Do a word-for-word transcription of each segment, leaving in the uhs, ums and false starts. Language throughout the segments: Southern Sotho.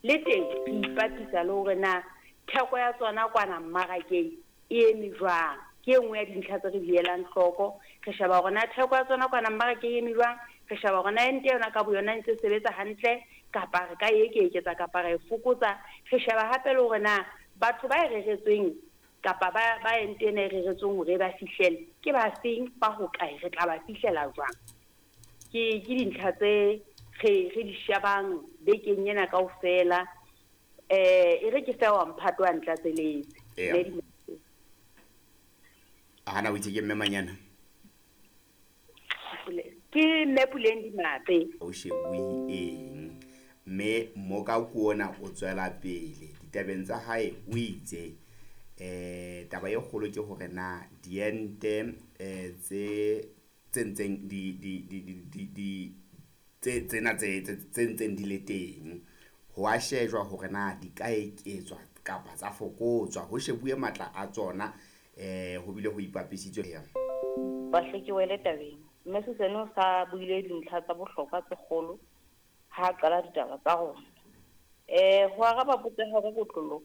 Le teng re ipapisa le hore na theko ya tsona kwana mmarakeng e eme jwang. Ke e nngwe ya dintlha tse re di elang hloko. Re sheba hore na theko ya tsona kwana mmarakeng e eme jwang. Re sheba hore na ente yona ka boyona e ntse e sebetsa hantle kapa re ka e eketsa kapa ra e fokotsa. Re sheba hape le hore na batho ba e reretsweng kapa ba ba ente ena e reretsweng hore e ba fihlele ke ba feng, ba hokae, re tla ba fihlela jwang. Ke ke dintlha tse re re di shebang bekeng ena kaofela. Eh e re ke fe wa mphato wa ntlatseletse. Eya. Mme di- Hana o itse ke mme Manyana. Ke Mme Puleng Dimape. O shebuwe eng, mme Mmoka ona o tswela pele ditabeng tsa hae, o itse eh taba e kgolo ke hore na diente eh tse tse ntseng di di di di di di tse tsena tse tse tse ntseng di le teng, ho a shejwa hore na di ka eketswa kapa tsa fokotswa, ho shebuwe matla a tsona, eh ho bile ho ipapisitswe ya Bahle ke wele tabeng. Mme Susan o sa buile dintlha tsa bohlokwa tse kgolo ha a qala ditaba tsa rona. Eh ho araba potso ya hao ka kotloloho,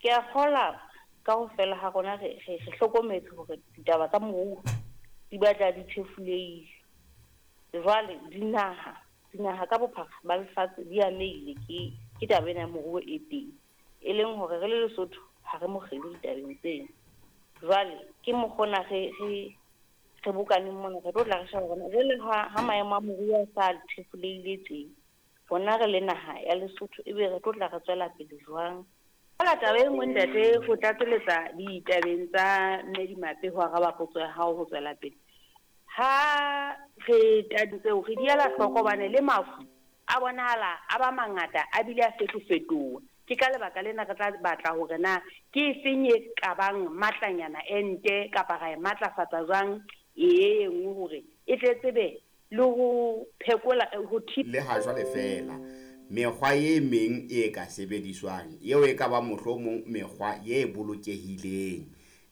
ke a kgola kaofela ha rona re re re hlokometse hore ditaba tsa moruo di batla di thefulehile. Jwale dinaha dinaha ka bophara ba lefatshe di amehile ke ke taba ena ya moruo e teng, e leng hore re le Lesotho ha re mokgelo ditabeng tseno. Jwale ke mokgona re re re bokaneng mona, re tlo tla re sheba hore jwale ha ha maemo a moruo a sa thefulehile tje, rona re le naha ya Lesotho ebe re tlo tla re tswela pele jwang. Hola taba e nngwe ntate, ho tlatseletsa ditabeng tsa Mme Dimape ho araba potso ya hao ho tswela pele. Ha re tabeng tseo re di ela hloko hobane le mafu a bonahala a ba mangata a bile a fetofetoha. Ke ka lebaka lena re tla batla hore na ke efeng e ka bang matlanyana ente kapa ra e matlafatsa jwang e e nngwe hore e tle tsebe le ho phekola ho thiba Le ha jwale fela mekgwa e meng e ka sebediswang eo e ka ba mohlomong mekgwa e bolokehileng,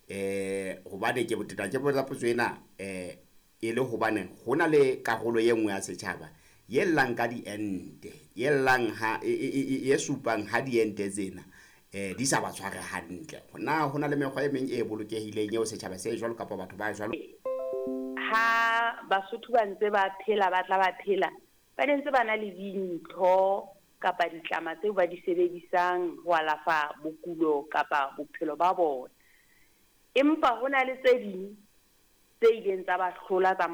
eh hobane ke boteta ke botsa potso ena eh e le hobane ho na le karolo e nngwe ya setjhaba ye llang ka diente, ye llang ha e e e e supang ha diente tsena eh di sa ba tshware hantle. Na ho na le mekgwa e meng e bolokehileng eo setjhaba se jwalo kapa batho ba jwalo ha Basotho ba ntse ba phela, ba tla ba phela, ba ne ntse ba na le dintho kapa ditlama tseo ba di sebedisang ho alafa bokulo kapa bophelo ba bona. Empa ho na le tse ding tse ileng tsa ba hlola tsa